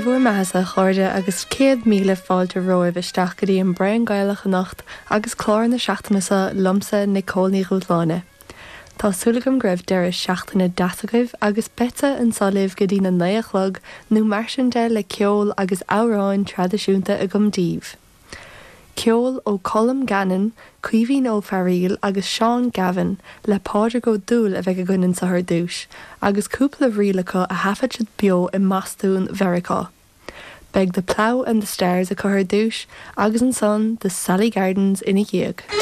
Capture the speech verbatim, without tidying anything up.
Dé bhur mbeathasa a chairde agus céad míle fáilte romhaibh isteach go dtí an Braon Gaelach anocht agus clár na seachtaine seo liomsa Nicole Ní Dhúshláine. Tá súil agam go raibh deireadh seachtaine deas agaibh agus beidh anseo libh go dtí na naoi a chlog nó mar sin de le ceol agus amhráin traidisiúnta agam daoibh. Ceol ó Colm Gannon, Caoimhín Ó Fearghaíl agus Seán Gavin le Pádraig Ó Dúill a bheidh againn anseo ar dtús, agus cúpla ríl acu a thaifead siad beo i mBostún Mheiriceá. Beidh The Plough and the Stars acu ar dtús agus ansan the Sally Gardens ina dhiaidh.